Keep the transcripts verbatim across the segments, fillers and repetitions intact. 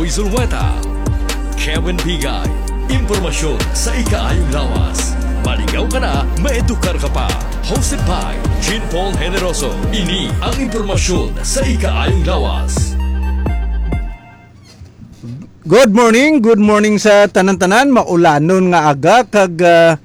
Zulweta, Kevin Bigay, impormasyon sa ikaayong lawas. Maligaw ka na, maedukar ka pa. Hosted by Jean Paul Generoso. Ini ang impormasyon sa ikaayong lawas. Good morning, good morning sa tanan-tanan. Maulanon nga aga kag, ah,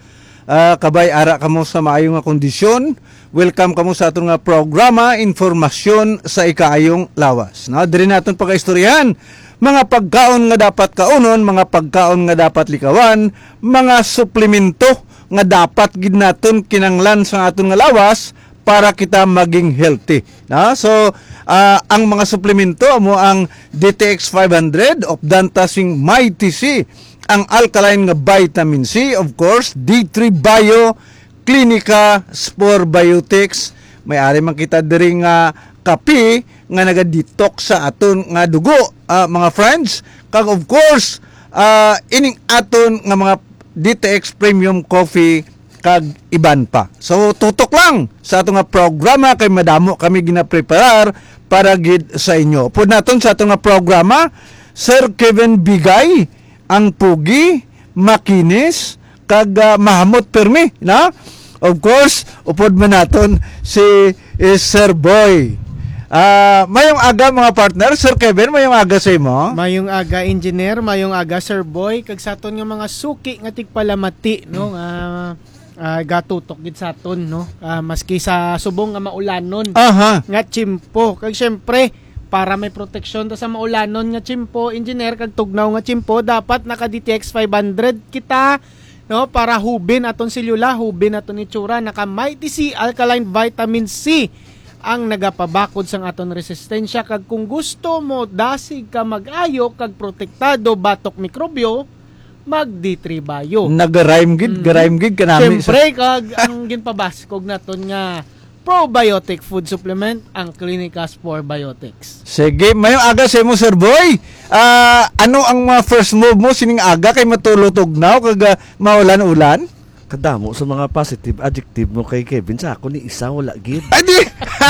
ah, kabay ara kamo sa maayo nga kondisyon. Welcome kamo sa aton nga programa, Informasyon sa Ikaayong Lawas. No, diri naton pagaistoryahan mga pagkaon nga dapat kaunon, mga pagkaon nga dapat likawan, mga suplemento nga dapat gid naton kinanglan sa aton nga lawas para kita maging healthy. No? So, ah, ang mga suplemento amo ang D T X five hundred, Opdantasing Mighty C, ang alkaline nga vitamin C, of course, D three Bio, Clinica, Spore Biotics. May ari man kita diri nga kape nga naga-detox sa aton nga dugo, ah, mga friends. Kag of course, ah, ining aton nga mga D T X Premium Coffee kag iban pa. So, tutok lang sa ato nga programa kay madamo kami ginapreparar para gid sa inyo. Upod naton sa ato nga programa, Sir Kevin Bigay, ang pugi, makinis, kag, ah, mahamot pirmi, no? Of course, upod man naton si, eh, Sir Boy. Ah, mayong aga, mga partner. Sir Kevin, mayong aga sa imo. Mayong aga, engineer. Mayong aga, Sir Boy. Kag sa aton nga mga suki nga tigpalamati, no? Ah, ah, gatutok gid sa aton, no? Ah, maski sa subong nga maulanon Aha. nga tiyempo. Kag syempre, para may proteksyon ta sa maulanon nga tiyempo, engineer, kag tugnaw nga tiyempo, dapat naka D T X five hundred kita, no? Para hubin aton selula, hubin aton itsura, naka Mighty C Alkaline Vitamin C ang nagapabakod sang aton resistensya. Kag kung gusto mo dasig ka mag-ayo kag protektado batok mikrobyo, mag D three Bio. Nag-rhyme gid, Mm. ga-rhyme gid kanami sa Siyempre, kag ang ginpabaskog naton nga probiotic food supplement, ang Clinicas Probiotics. Sige, mayong aga sa imo, Sir Boy. Ah, ano ang mga first move mo sining aga kay matulog tugnaw kag, ah, maulan-ulan? Kadamo sa mga positive adjective mo kay Kevin, sa ako ni isa wala gid. Ay, di! Ha?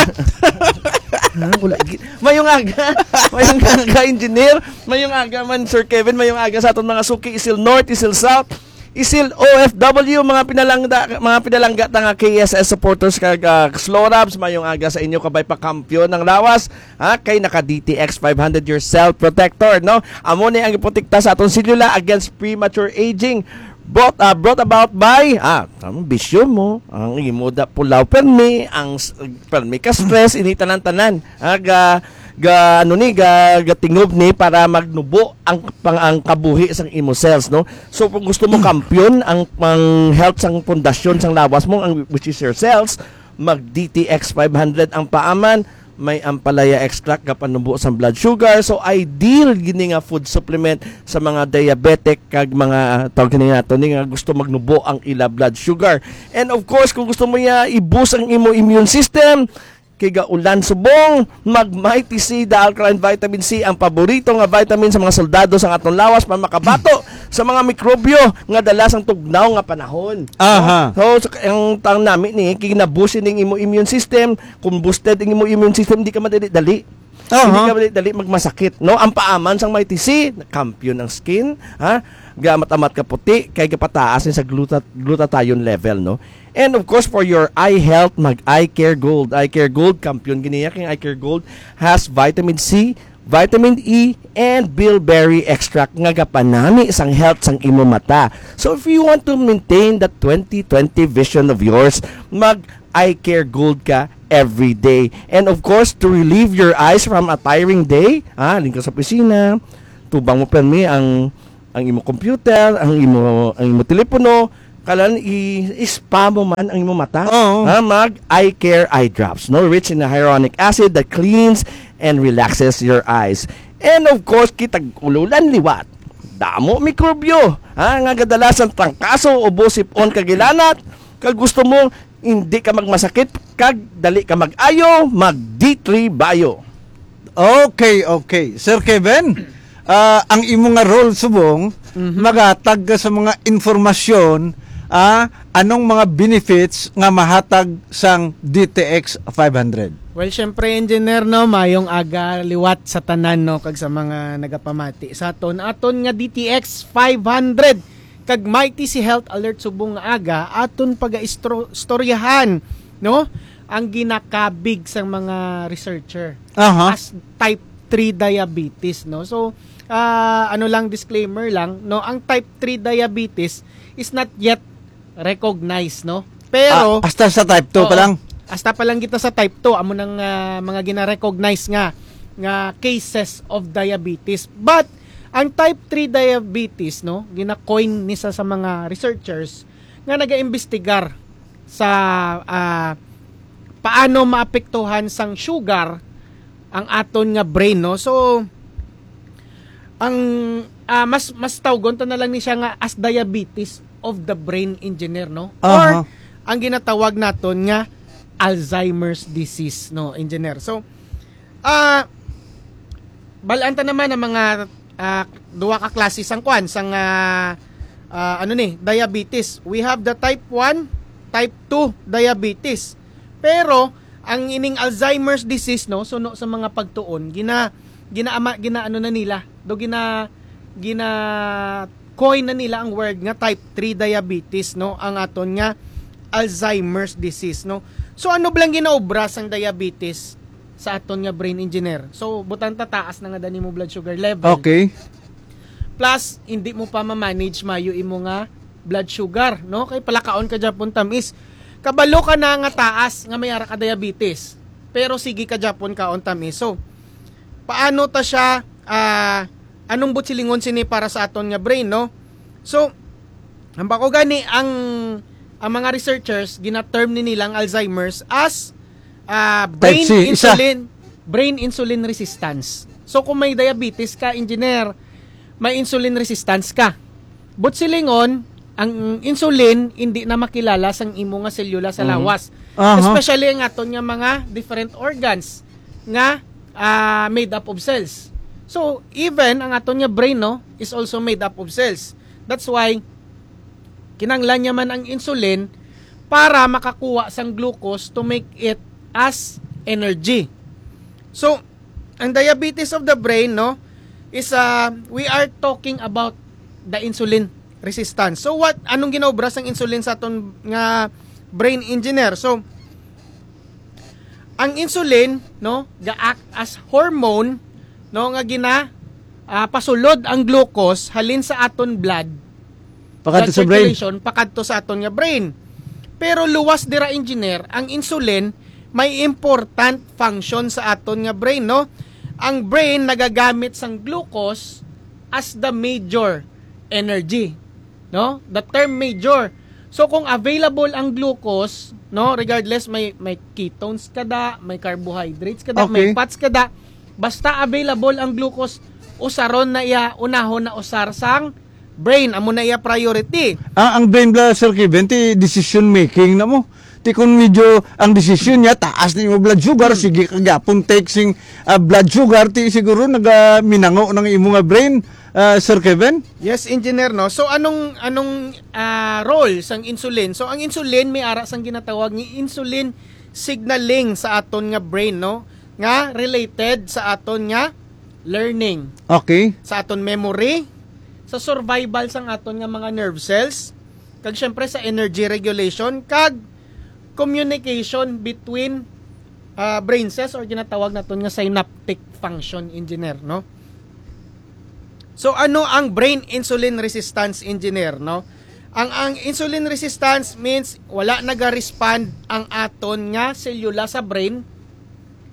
Wala gid. Mayong aga. Mayong aga, engineer. Mayong aga man, Sir Kevin. Mayong aga sa aton mga suki, Isil North, Isil South, Isil O F W, mga pinalangga, mga pinalangga ta nga K S S supporters kag, ah, Slorabs. Mayong aga sa inyo, kabay pa kampiyon ang lawas, ha, kay naka D T X five hundred, your cell protector, no? Amo ni ang iprotekta sa aton selula against premature aging. Brought, ah, brought about by, ah, ang bisyo mo, ang imo da pulaw permi, ang s-, permi ka stress, ini tanan-tanan. Ah, ga, ga, ano ni, ga, gatingob ni para magnubo ang pang, ang kabuhi sang imo cells, no? So, kung gusto mo kampiyon ang pang health sang pundasyon sang lawas mo, ang, which is your cells, mag D T X five hundred ang paaman, may ampalaya extract nga panubo sang blood sugar. So, ideal gini nga food supplement sa mga diabetic kag mga, ah, tawag gini nato ni nga gusto magnubo ang ila blood sugar. And of course, kung gusto mo ya i-boost ang imo immune system, kay gaulan subong, mag Mighty C, the alkaline vitamin C, ang paborito nga vitamin sa mga soldado sa aton lawas para makabato sa mga mikrobyo nga dala sang tugnaw nga panahon. Aha. No? So, sa, ang tang nami ni, kinabusi ning imo immune system, kung boosted ang imo immune system, hindi ka madali-dali. Aha. Hindi ka madali-dali magmasakit, no? Ang paaman sang Mighty C, kampiyon ang skin, ha? Gamat-amat ka puti, kay gapataas ni sa gluta-, glutathione level, no? And of course, for your eye health, mag Eye Care Gold. Eye Care Gold, kampiyon giniya kay Eye Care Gold has vitamin C, vitamin E, and bilberry extract nga gapanami sang health sang imo mata. So if you want to maintain that twenty twenty vision of yours, mag Eye Care Gold ka every day. And of course, to relieve your eyes from a tiring day, ah, halin ka sa opisina, tubang mo permi ang, ang imo computer, ang imo, ang imo telepono, kalan i-, i-spa mo man ang imo mata. Oo. Ha, mag Eye Care Eye Drops, no? Rich in hyaluronic acid that cleans and relaxes your eyes. And of course, kitag ululan liwat. Damo mikrobyo, ha, nga gadala sang trangkaso, ubo, sip-on, kag ilanat. Kag gusto mo, hindi ka magmasakit, kag dali ka mag-ayo, mag D three Bio. Okay, okay. Sir Kevin, ah, ang imo nga role subong, Mhm. maghatag ka sa mga informasyon, ah, anong mga benefits nga mahatag sang D T X five hundred? Well, syempre, Engineer, no, mayong aga liwat sa tanan, no, kag sa mga nagapamati sa aton, aton nga D T X five hundred kag Mighty C Health Alert subong nga aga, aton pagaistro-, istoryahan, no, ang ginakabig sang mga researcher Aha. as type three diabetes, no. So, ah, ano lang, disclaimer lang, no, ang type three diabetes is not yet recognized, no. Pero Ah, hasta sa type two pa Oo. lang. Hasta pa lang kita sa type two, amo nang, ah, mga gina-recognize nga, nga cases of diabetes. But ang type three diabetes, no, gina-coin ni sa, sa mga researchers nga nagaimbestigar sa, ah, paano maapektuhan sang sugar ang aton nga brain, no. So, ang, ah, mas, mas tawgon ta na lang ni siya nga as diabetes of the brain, Engineer, no? Or Aha. ang ginatawag naton nga Alzheimer's disease, no, Engineer? So, ah, balaan ta naman ang mga, ah, duha ka klase sang kwan, sang, ah, ah, ano ni, diabetes. We have the type one, type two diabetes. Pero ang ining Alzheimer's disease, no, suno sa mga pagtuon, gina ginaama ginaano na nila, do gina gina coin na nila ang word nga type three diabetes, no, ang aton nga Alzheimer's disease, no. So, ano blang ginaobra sang diabetes sa aton nga brain, Engineer? So, butang ta, taas na nga dani mo blood sugar level. Okay. Plus, hindi mo pa ma-manage mayo imo nga blood sugar, no? Kay palakaon ka gyapon tamis. Kabalo ka na nga taas nga may ara ka diabetes. Pero sige ka gyapon kaon tamis. So, paano ta siya, ah, anong buot silingon sini para sa aton nga brain, no? So, ang bako gani ang, ang mga researchers, gina-term ni nilang Alzheimer's as, ah, Type brain C, isa. insulin, brain insulin resistance. So, kung may diabetes ka, Engineer, may insulin resistance ka. Buot silingon, ang insulin hindi na makilala sang imo nga selula sa Mhm. lawas. Aha. Especially ang aton nga mga different organs nga, ah, made up of cells. So, even ang aton nga brain, no, is also made up of cells. That's why kinahanglan niya man ang insulin para makakuha sang glucose to make it as energy. So, ang diabetes of the brain, no, is, uh, we are talking about the insulin resistance. So what, anong ginaobra sang insulin sa aton nga brain, Engineer? So ang insulin, no, ga-act as hormone, no, nga gina ah, pasulod ang glucose halin sa aton blood, Pakadto blood sa brain. circulation, pakadto sa aton nga brain. Pero luwas dira, Engineer, ang insulin may important function sa aton nga brain, no? Ang brain nagagamit sang glucose as the major energy, no? The term major. So kung available ang glucose, no, regardless may, may ketones ka da, may carbohydrates ka da, may Okay. fats ka da, basta available ang glucose, usaron na iya, unahon na usar sang brain, amo na iya priority. Ah, ang brain bala, Sir Kevin, ti decision making na mo. Ti kung medyo ang decision niya, taas na yung blood sugar, Hmm. sige ka gyapon take sing, ah, blood sugar, ti siguro nagaminango ng imo nga brain, ah, Sir Kevin? Yes, Engineer, no? So anong, anong, ah, role sang insulin? So ang insulin may ara sang ginatawag nga insulin signaling sa aton nga brain, no? Nga related sa aton nga learning, Okay. sa aton memory, sa survival sang aton nga mga nerve cells, kag syempre sa energy regulation, kag communication between, ah, brain cells, or ginatawag naton nga synaptic function, Engineer, no? So ano ang brain insulin resistance, Engineer, no? Ang, ang insulin resistance means wala naga-respond ang aton nga selula sa brain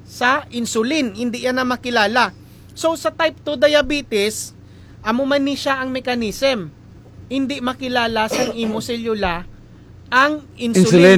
sa insulin, hindi yan na makilala. So sa type two diabetes, amo man ni siya ang mechanism. Hindi makilala sa imo selula ang insulin. Insulin.